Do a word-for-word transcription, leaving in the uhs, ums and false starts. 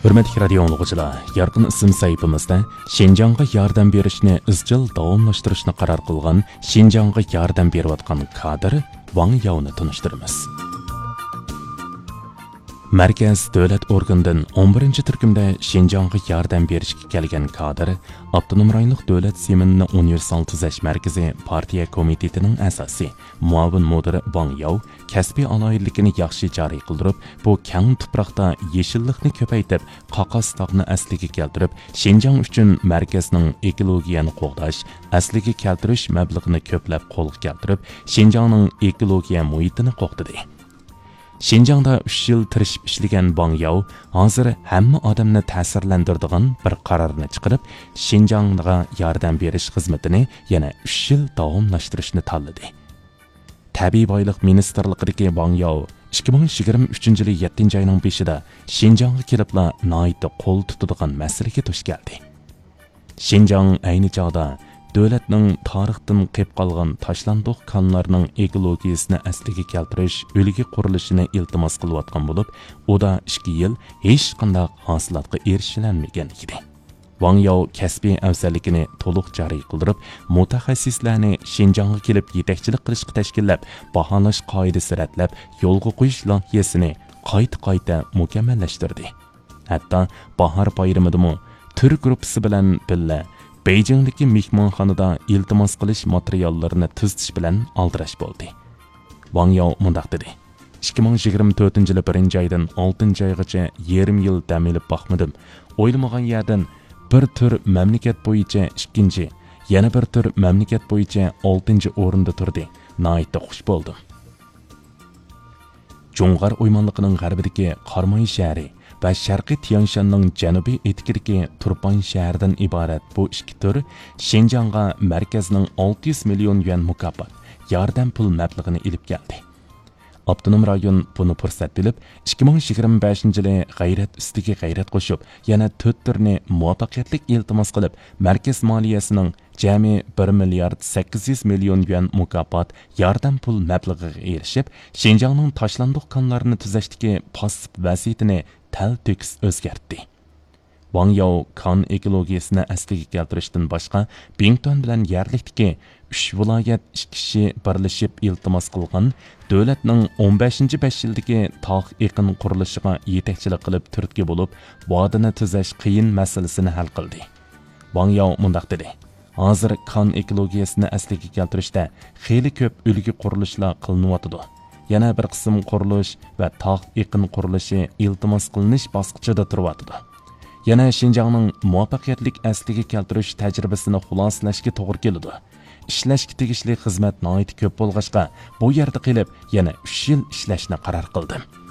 ھۆرمەتلىك رادىيو ئاڭلىغۇچىلار، يارقىن ئىسىم سەھىپىمىزدە شىنجاڭغا ياردەم بېرىشنى ئىزچىل داۋاملاشتۇرۇشنى قارار قىلغان شىنجاڭغا ياردەم بېرىۋاتقان كادىر ۋاڭ ياۋنى تونۇشتۇرىمىز. مەركەز دۆلەت ئورگىنىدىن ئون بىرىنچى تۈركۈمدە شىنجاڭغا ياردەم بېرىشكە كەلگەن كادىر، ئاپتونوم رايونلۇق دۆلەت زېمىنىنى ئۇنىۋېرسال تۈزەش مەركىزى پارتىيە كومىتېتىنىڭ ئەزاسى، مۇئاۋىن مۇدىرى ۋاڭ ياۋ كەسپىي ئالاھىدىلىكىنى ياخشى جارى قىلدۇرۇپ، بۇ كەڭ تۇپراقتا يېشىللىقنى كۆپەيتىپ، قاقاس تاغنى ئەسلىگە كەلتۈرۈپ، شىنجاڭ ئۈچۈن مەركەزنىڭ ئېكولوگىيەنى قوغداش، ئەسلىگە كەلتۈرۈش مەبلىغىنى كۆپلەپ قولغا كەلتۈرۈپ، شىنجاڭنىڭ ئېكولوگىيە مۇھىتىنى قوغدىدى. شىنجاڭدا ئۈچ يىل تىرىشىپ ئىشلىگەن ۋاڭ ياۋ ھازىر ھەممە ئادەمنى تەسىرلەندۈرىدىغان بىر قارارنى چىقىرىپ، شىنجاڭغا ياردەم بېرىش خىزمىتىنى يەنە ئۈچ يىل داۋاملاشتۇرۇشنى تاللىدى. تەبىئىي بايلىق مىنىستىرلىقىدىكى ۋاڭ ياۋ ئىككى مىڭ يىگىرمە ئۈچىنچى يىلى يەتتىنچى ئاينىڭ بېشىدا شىنجاڭغا كېلىپلا ناھايىتى قول تۇتىدىغان مەسىلىگە دۇچ كەلدى. شىنجاڭ ئەينى چاغدا دۆلەتنىڭ تارىختىن قېلىپ قالغان تاشلاندۇق كانلارنىڭ ئېكولوگىيىسىنى ئەسلىگە كەلتۈرۈش ئۈلگە قۇرۇلۇشىنى ئىلتىماس قىلىۋاتقان بولۇپ، ئۇدا ئىككى يىل ھېچقانداق ھاسىلاتقا ئېرىشىلەلمىگەن ئىدى. ۋاڭ ياۋ كەسپىي ئەۋزەللىكىنى تولۇق جارى قىلدۇرۇپ، مۇتەخەسسىسلەرنى شىنجاڭغا كېلىپ يېتەكچىلىك قىلىشقا تەشكىللەپ، باھالاش قائىدىسى رەتلەپ، يولغا قويۇش لايىھەسىنى قايتا-قايتا مۇكەممەللەشتۈردى. ھەتتا باھار بايرىمىدىمۇ تۈر گۇرۇپپىسى بىلەن بىللە بېيجىڭدىكى مېھمانخانىدا ئىلتىماس قىلىش ماتېرىياللىرىنى تۈزىتىش بىلەن ئالدىراش بولدى. ۋاڭ ياۋ مۇنداق دېدى: «ئىككى مىڭ يىگىرمە تۆتىنچى يىلى بىرىنچى ئايدىن ئالتىنچى ئايغىچە يېرىم يىل دەم ئېلىپ باقمىدىم. ئويلىمىغان يەردىن بىر تۈر مەملىكەت بويىچە ئىككىنچى، يەنە بىر تۈر مەملىكەت بويىچە ئالتىنچى ئورۇندا تۇردى. ناھايىتى خۇش بولدۇم.» جۇڭغار ئويمانلىقىنىڭ غەربىدىكى قاراماي شەھىرى ۋە شەرقىي تيەنشاننىڭ جەنۇبىي ئېتىكىدىكى تۇرپان شەھىرىدىن ئىبارەت بۇ ئىككى تۈر شىنجاڭغا مەركەزنىڭ ئالتە يۈز مىليون يۈەن مۇكاپات، ياردەم پۇل مەبلىغىنى ئېلىپ كەلدى. ئاپتونوم رايون بۇنى پۇرسەت بىلىپ، ئىككى مىڭ يىگىرمە بەشىنچى يىلى غەيرەت ئۈستىگە غەيرەت قوشۇپ، يەنە تۆت تۈرنى مۇۋەپپەقىيەتلىك ئىلتىماس قىلىپ، مەركەز مالىيەسىنىڭ جەمئىي بىر مىليارد سەككىز يۈز مىليون يۈەن مۇكاپات، ياردەم پۇل مەبلىغىغا ئېرىشىپ، شىنجاڭنىڭ تاشلاندۇق كانلارنى تۈزەشتىكى پاسسىپ ۋەزىيىتىنى تەلتۆكۈس ئۆزگەرتتى. ۋاڭ ياۋ كان ئېكولوگىيىسىنى ئەسلىگە كەلتۈرۈشتىن باشقا، بىڭتۈەن بىلەن يەرلىكتىكى ئۈچ ۋىلايەت ئىككى كىشى بىرلىشىپ ئىلتىماس قىلغان دۆلەتنىڭ ئون بەشىنچى بەش يىلدىكى تاغ ئېقىن قۇرۇلۇشىغا يېتەكچىلىك قىلىپ تۈرتكە بولۇپ، ۋادىنى تۈزەش قىيىن مەسىلىسىنى ھەل قىلدى. ۋاڭ ياۋ مۇنداق دېدى: «ھازىر كان ئېكولوگىيەسىنى ئەسلىگە كەلتۈرۈشتە خېلى كۆپ ئۈلگە قۇرۇلۇشلار قىلىنىۋاتىدۇ. يەنە بىر قىسىم قۇرۇلۇش ۋە تاغ ئېقىن قۇرۇلۇشى ئىلتىماس قىلىنىش باسقۇچىدا تۇرۇۋاتىدۇ. يەنە شىنجاڭنىڭ مۇۋەپپەقىيەتلىك ئەسلىگە كەلتۈرۈش تەجرىبىسىنى خۇلاسىلەشكە توغرا كېلىدۇ. ئىشلەشكە تېگىشلىك خىزمەت ناھايىتى كۆپ بولغاچقا، بۇ يەردە قېلىپ يەنە ئۈچ يىل ئىشلەشنى قارار قىلدىم.»